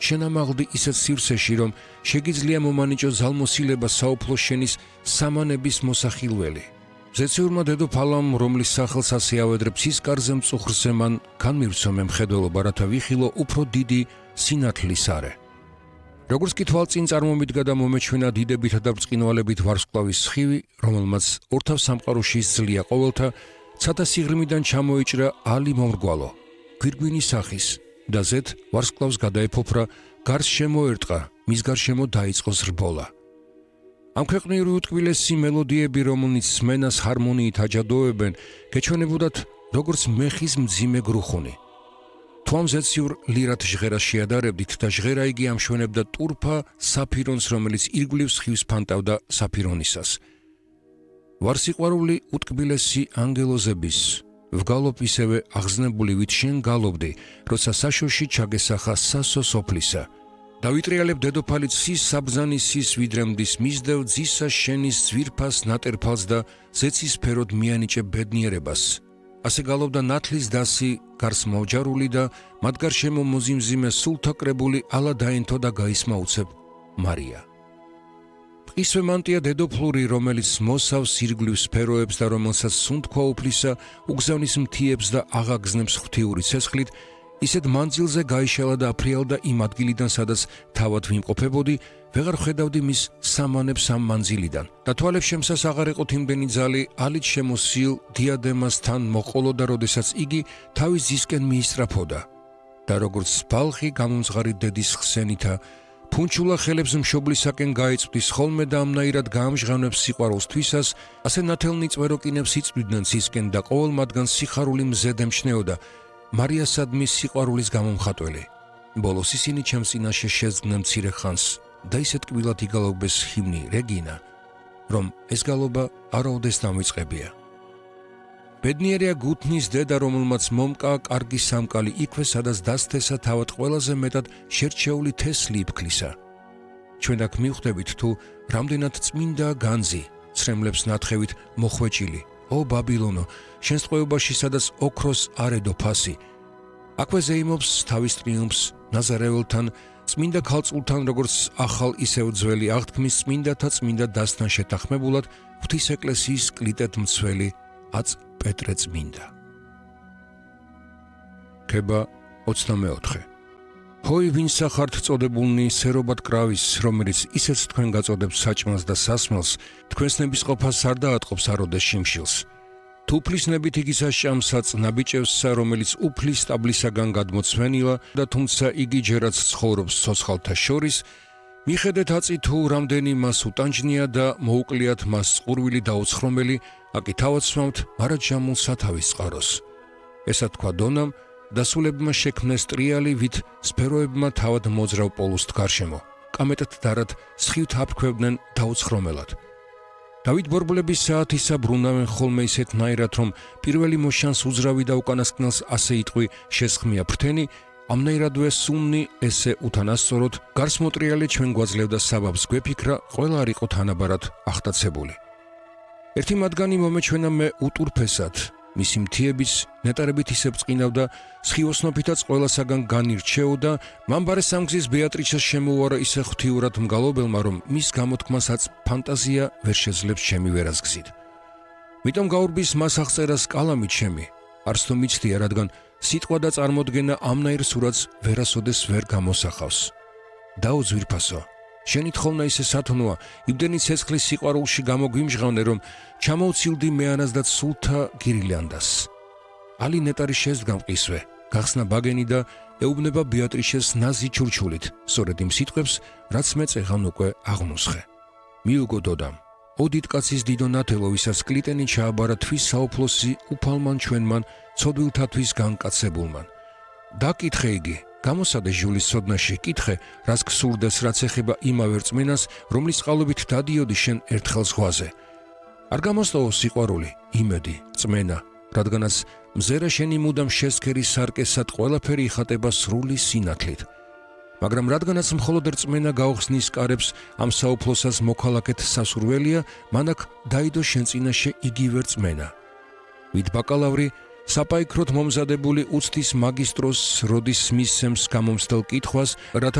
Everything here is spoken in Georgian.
შენამაღლდი ისეთ სივრცეში, რომ შეგიძლია მომანიჭო ზალმოსილება საუფლო შენის სამანების მოსახილველი. ზეციურმა დედოფალამ, რომლის სახელს ასე ავედრებს ის კარზე მწუხრზე, მან განმივცო მე მხედველობა, რათა ვიხილო უფრო დიდი სინათლის არე. როგორც კი თვალწინ წარმომიდგა და მომეჩვენა დიდებითა და ბრწყინვალებით ვარსკვლავის სხივი, რომელმაც ორთავ სამყაროში ისძლია ყოველთა, ცათა სიღრმიდან ჩამოიჭრა ალი მომრგვალო, გვირგვინის სახის და ზედ ვარსკვლავს გადაეფოფრა, გარს შემოერტყა, მის გარშემო დაიწყო ზრბოლა. ამ ქვეყნიური უტკბილესი მელოდიები, რომელნიც სმენას ჰარმონიით აჯადოებენ, გეჩვენებოდათ როგორც მეხის მძიმე გრუხუნი. თუ ამ ზეციურ ლირათ ჟღერას შეადარებდით და ჟღერა იგი ამშვენებდა ტურფა საფირონს, რომელიც ირგვლივ სხივს ფანტავდა საფირონისას. ვარსიყვარული უტკბილესი ანგელოზების, ვგალობ ისევე აღზნებული ვით შენ გალობდი, როცა საშოში ჩაგესახა სასო სოფლისა. დავიტრიალებ დედოფალი ცის საბრძანი სის ვიდრემდის მისდევ ძისა შენის ძვირფას ნატერფალს და ზეცის ფეროდ მიანიჭე ბედნიერებას. ასე გალობდა ნათლის დასი, გარს მოვჯარული და მათ გარშემო მოზიმზიმე სულთა კრებული ალა დაენთო და გაისმა უცებ მარია. ისვე მანტია დედოფლური, რომელიც მოსავს ირგვლივ სფეროებს და რომელსაც სუნთქვა უფლისა უგზავნის მთიებს და აღაგზნებს ღვთიური ცეცხლით, ისეთ მანძილზე გაიშალა და აფრიალდა იმ ადგილიდან, სადაც თავად ვიმყოფებოდი, ვეღარ ხედავდი მის სამანებს ამ მანძილიდან და თვალებს შემსას აღარ ეყოთ იმდენი ძალი ალით შემოსილ დიადემასთან მოყოლოდა, როდესაც იგი თავის ძისკენ მიისწრაფოდა და როგორც ბალხი გამომძღარი დედის ხსენითა ფუნჩულა ხელებს მშობლისაკენ გაიწვდის ხოლმე და ამნაირად გაამჟღავნებს სიყვარულს თვისას, ასე ნათელნი წვეროკინებს იწვდიდნენ ცისკენ და ყოველ მათგან სიხარული მზედ ემჩნეოდა, მარიასადმი სიყვარულის გამომხატველი. ბოლოს ისინი ჩემს წინაშე შეძგნენ მცირე ხანს და ისეთ კბილად იგალობეს ჰიმნი რეგინა, რომ ეს გალობა არაოდეს დამვიწყებია. ბედნიერია გუთნის დედა, რომელმაც მომკა კარგი სამკალი იქვე, სადაც დასთესა თავად ყველაზე მეტად შერჩეული თესლი იფქლისა. ჩვენ აქ მივხვდებით, თუ რამდენად წმინდა განძი, ცრემლებს ნათხევით მოხვეჭილი, ო ბაბილონო, შენს ტყვეობაში, სადაც ოქროს არედო ფასი. აქვე ზეიმობს თავის ტრიუმფს ნაზარეველთან, წმინდა ქალწულთან, როგორც ახალ ისევ ძველი აღთქმის წმინდათა წმინდა დასთან შეთანხმებულად, ღვთის ეკლესიის კლიტეთ მცველი აწ პეტრე წმინდა. ქება 24. ჰოი ვინსა ხართ წოდებულნი სერობად კრავის, რომელიც ისეც თქვენ გაწოდებთ საჭმელს და სასმელს, თქვენს ნებისყოფას არ დაატყობს აროდეს შიმშილს. თუ უფლის ნებით იგისა შამსაც ნაბიჭევსა, რომელიც უფლის სტაბლისაგან გადმოცვენილა და თუმცა იგი ჯერაც ცხოვრობს ცოცხალთა შორის, მიხედეთ აწი თუ რამდენი მას უტანჯნია და მოუკლიათ მას წყურვილი და უცხრომელი, აკი თავად სვამთ მარაჯამულ სათავის წყაროს. ესა თქვა დონამ, დასულებმა შექმნეს ტრიალი, ვით სფეროებმა თავად მოძრავ პოლუსთ გარშემო, კამეტად დარად სხივთ აფრქვევდნენ დაუცხრომელად. დავით ბორბლების საათისა ბრუნავენ ხოლმე ისეთნაირად, რომ პირველი მოშანს უძრავი და უკანასკნელს ასე იტყვი შესხმია ფრთენი, ამნაირადვე სუნნი ესე უთანასწოროდ გარსმოტრიალი ჩვენ გვაძლევდა საბაბს გვეფიქრა, ყველა არ იყო თანაბარად ახტაცებული. ერთი მათგანი მომეჩვენა მე უტურფესად, მისი მთიების ნეტარებით ისე ბრწყინავდა, სხივოსნოფითაც ყველასაგან განირჩეოდა, მამბარე სამგზის ბეატრიჩას შემოუარა ისე ღვთიურად მგალობელმა, რომ მის გამოთქმასაც ფანტაზია ვერ შეძლებს ჩემი ვერასგზით. მიტომ გაურბის მას აღწერას კალამით ჩემი, არც თუ მიცდია, რადგან სიტყვა და წარმოდგენა ამნაირ სურათს ვერასოდეს ვერ გამოსახავს. დაო ძვირფასო, შენი თხოვნა ისე სათნოა, იმდენი ცეცხლის სიყვარულში გამოგვიმჟღავნე, რომ ჩამოვცილდი მეანას და სულთა გირილანდას. ალი ნეტარი შეძდგა მყისვე, გახსნა ბაგენი და ეუბნება ბეატრიშეს ნაზი ჩურჩულით, სწორედ იმ სიტყვებს, რაც მე წეღან უკვე აღმოსხე. მიუგო დოდამ, ო დიდკაცის დიდო ნათელო, ვისაც კლიტენი ჩააბარა თვის საუფლოსი უფალმან ჩვენმან, ცოდვილთათვის განკაცებულმან. დაკითხე იგი, გამოსადე ჟულის ცოდნაში, კითხე, რას გსურდეს, რაც ეხება იმავე რწმენას, რომლის წყალობით დადიოდი შენ ერთხელ ზღვაზე. არ გამოსტოვო სიყვარული, იმედი, რწმენა, რადგანაც მზერა შენი მუდამ შესქერი სარკესად ყველაფერი იხატება სრული სინათლით. მაგრამ რადგანაც მხოლოდ რწმენა გაუხსნის კარებს ამ საუფლოსას მოქალაქეთ სასურველია, მან აქ დაიდო შენ წინაშე იგივე რწმენა. ვით ბაკალავრი საპაიქროთ მომზადებული უცდის მაგისტროს როდის მისცემს გამომცდელ კითხვას, რათა